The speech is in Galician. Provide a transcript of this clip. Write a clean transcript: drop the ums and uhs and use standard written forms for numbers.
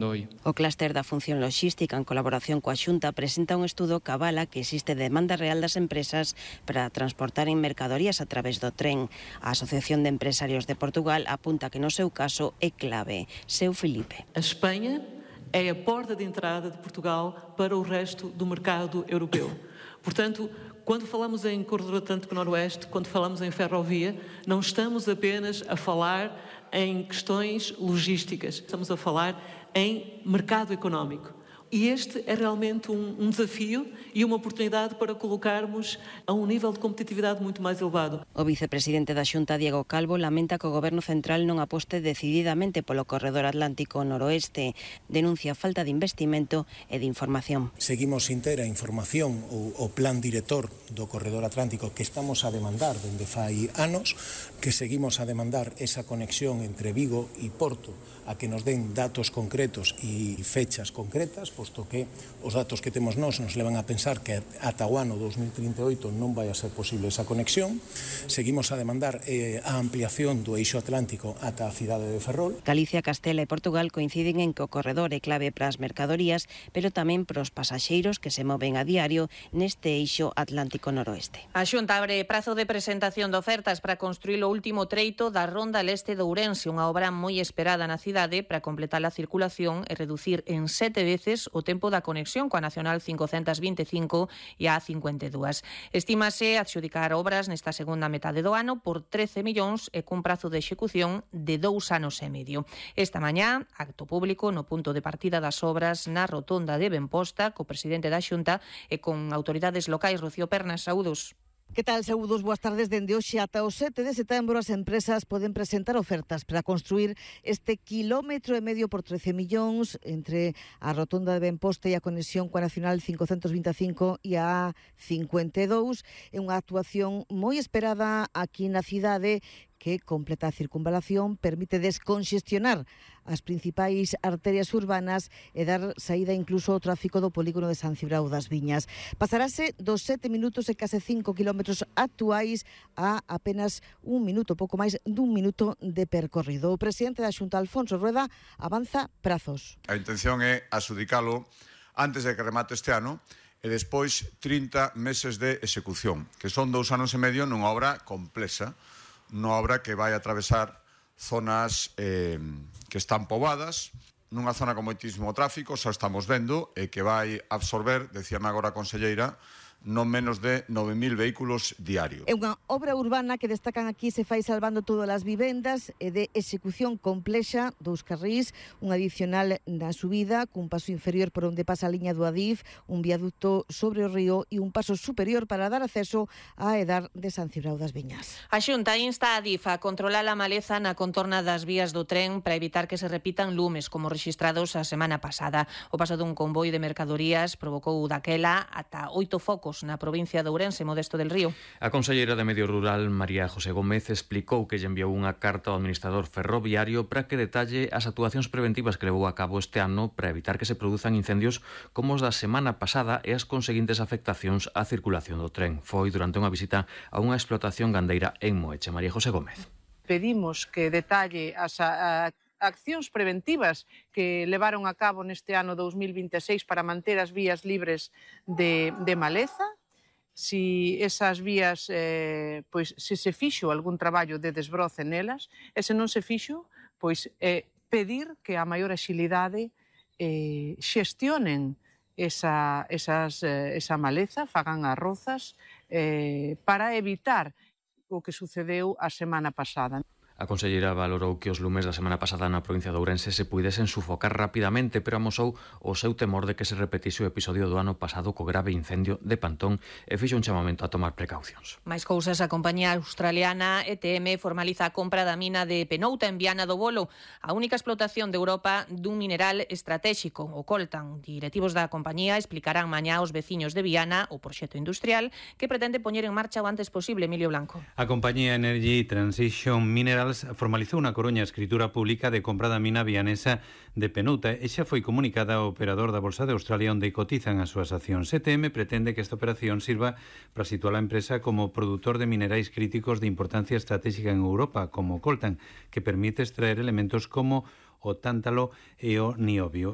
O clúster da función logística, en colaboración coa Xunta, presenta un estudo que avala que existe demanda real das empresas para transportar en mercadorías a través do tren. A Asociación de Empresarios de Portugal apunta que no seu caso é clave. Seu Filipe. A Espanha é a porta de entrada de Portugal para o resto do mercado europeu. Portanto, quando falamos em Corredor Atlântico Noroeste, quando falamos em ferrovia, não estamos apenas a falar em questões logísticas, estamos a falar em mercado económico. E este é realmente um desafio e uma oportunidade para colocarmos a um nível de competitividade muito mais elevado. O vicepresidente da Xunta, Diego Calvo, lamenta que o Goberno Central non aposte decididamente polo Corredor Atlántico Noroeste. Denuncia a falta de investimento e de información. Seguimos sin ter a información o plan director do Corredor Atlántico que estamos a demandar dende fai anos, que seguimos a demandar esa conexión entre Vigo e Porto, a que nos den datos concretos e fechas concretas, posto que os datos que temos nos levan a pensar que ata o ano 2038 non vai a ser posible esa conexión. Seguimos a demandar a ampliación do eixo atlántico ata a cidade de Ferrol. Galicia, Castela e Portugal coinciden en que o corredor é clave para as mercadorías, pero tamén para os pasaxeiros que se moven a diario neste eixo Atlántico Noroeste. A Xunta abre prazo de presentación de ofertas para construir o último treito da Ronda Leste de Ourense, unha obra moi esperada na cidade para completar a circulación e reducir en 7 veces o tempo da conexión coa Nacional 525 e a 52. Estímase adxudicar obras nesta segunda metade do ano por 13 millóns e cun prazo de execución de 2 anos e medio. Esta mañá, acto público no punto de partida das obras na rotonda de Benposta, co presidente da Xunta e con autoridades locais. Rocío Pernas, saúdos. Que tal, saúdos, boas tardes. Dende hoxe ata o 7 de setembro as empresas poden presentar ofertas para construir este quilómetro e medio por 13 millóns entre a rotonda de Benposta e a conexión coa Nacional 525 e a 52. É unha actuación moi esperada aquí na cidade que completa a circunvalación, permite desconxestionar as principais arterias urbanas e dar saída incluso ao tráfico do polígono de San Cibrao das Viñas. Pasarase dos 7 minutos e case 5 kilómetros actuais a apenas un minuto, pouco máis dun minuto de percorrido. O presidente da Xunta, Alfonso Rueda, avanza prazos. A intención é adxudicalo antes de que remate este ano e despois 30 meses de execución, que son 2 anos e medio nunha obra complexa, unha obra que vai atravesar zonas que están poboadas, nunha zona con moitísimo tráfico, xa estamos vendo, e que vai absorber, decíame agora a conselleira, non menos de 9.000 vehículos diarios. É unha obra urbana que destacan aquí se fai salvando todas as vivendas e de execución complexa, 2 carrís, un adicional na subida, cun paso inferior por onde pasa a liña do Adif, un viaducto sobre o río e un paso superior para dar acceso á edar de San Cibrao das Viñas. A Xunta insta a Adif a controlar a maleza na contorna das vías do tren para evitar que se repitan lumes como rexistrados a semana pasada. O paso dun convoi de mercadorías provocou daquela ata 8 focos na provincia de Ourense, Modesto del Río. A conselleira de Medio Rural, María José Gómez, explicou que lle enviou unha carta ao administrador ferroviario para que detalle as actuacións preventivas que levou a cabo este ano para evitar que se produzan incendios como os da semana pasada e as conseguintes afectacións á circulación do tren. Foi durante unha visita a unha explotación gandeira en Moeche. María José Gómez. Pedimos que detalle as accións preventivas que levaron a cabo neste ano 2026 para manter as vías libres de maleza, si esas vías, pois, se fixo algún traballo de desbroce nelas, e se non se fixo, pois, pedir que a maior axilidade xestionen esa maleza, fagan as rozas, para evitar o que sucedeu a semana pasada. A conselleira valorou que os lumes da semana pasada na provincia de Ourense se puidesen sufocar rapidamente, pero amosou o seu temor de que se repetise o episodio do ano pasado co grave incendio de Pantón e fixo un chamamento a tomar precaucións. Mais cousas, a compañía australiana ETM formaliza a compra da mina de Penouta en Viana do Bolo, a única explotación de Europa dun mineral estratéxico, o coltan. Directivos da compañía explicarán mañá aos veciños de Viana o proxecto industrial que pretende poñer en marcha o antes posible. Emilio Blanco. A compañía Energy Transition Minerals formalizou na Coruña a escritura pública de compra da mina vianesa de Penouta e xa foi comunicada ao operador da Bolsa de Australia onde cotizan as súas accións. ETM pretende que esta operación sirva para situar a empresa como produtor de minerais críticos de importancia estratégica en Europa, como coltan, que permite extraer elementos como o tántalo e o niobio.